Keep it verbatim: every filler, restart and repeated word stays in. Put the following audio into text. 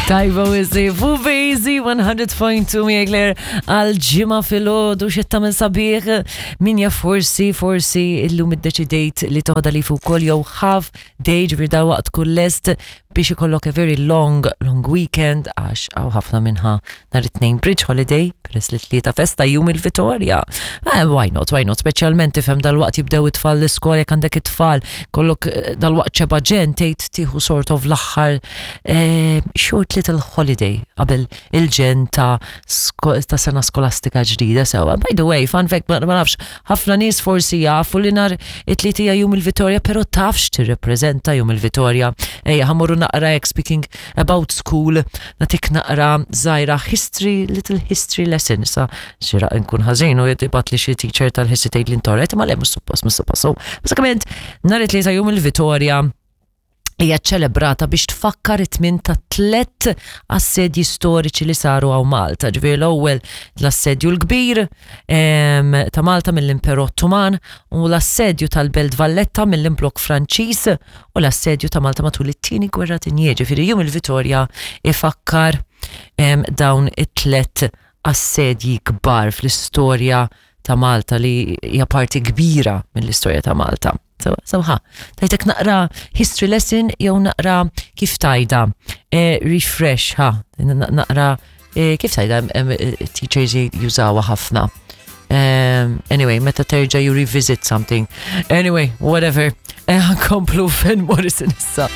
Tajba wisi, Fubizi one hundred point two miegħek Claire għal Ġimgħa filgħodu. Xetta minn sabiħ, min jaf, forsi, forsi illum iddeċidejt li toħda li fuq kol jew half day, ġifieri dalwaqt kull lest biex ikollok a very long, long weekend, għax hawn ħafna minna nhar it-Tnejn bridge holiday, peress li Tlieta festa, Jum il-Vitorja. Eh, why not, why not, speċjalment tifhem dalwaqt jibdew it-tfal l-iskola, jekk għandek it-tfal, kollok eh, dalwaqt ċeba ġen tgħid tieħu sort of l-aħħar eh, short little holiday qabel il-ġen ta' sko- ta' sena skolastika ġdida sewa. By the way, fun fact, ma ma nafx, ħafna nies forsi jafu li nhar it-Tlieta hija Jum il-Vitorja, pero tafx tirrepreżenta Jum il-Vitorja? Ejja, ħa mmorru naqra hekk, speaking about school, nagħtik naqra żgħira history, little history lesson. Sa xira nkun ħażin u jibgħat li xi teacher tal-history tgħid li ntorret, ma le, mhux suppost, mhux suppost. So, bażikament, nhar it-Tlieta Jum il-Vitorja hija ċelebrata biex tfakkar it-tmien ta' tlet assedji storiċi li saru hawn Malta. Ġifieri l-ewwel l-assedju l-kbir em, ta' Malta mill-Imperu Ottoman u l-assedju tal-Belt Valletta mill-Imblok Franċiż u l-assedju ta' Malta matul it-Tieni Gwerra Dinjija. Ġifieri Jum il-Vitorja ifakkar em, dawn it-tlet assedji kbar fl-istorja ta' Malta li hija parti kbira mill-istorja ta' Malta. So, so ha, tajtek naqra history lesson jew naqra, kif tgħidha, eh, refresh, ha, naqra, eh, kif tgħidha, em, eh, teachers jużawha ħafna. Um, anyway, meta terġa' you revisit something. Anyway, whatever. Eh, komplu Van Morrison issa.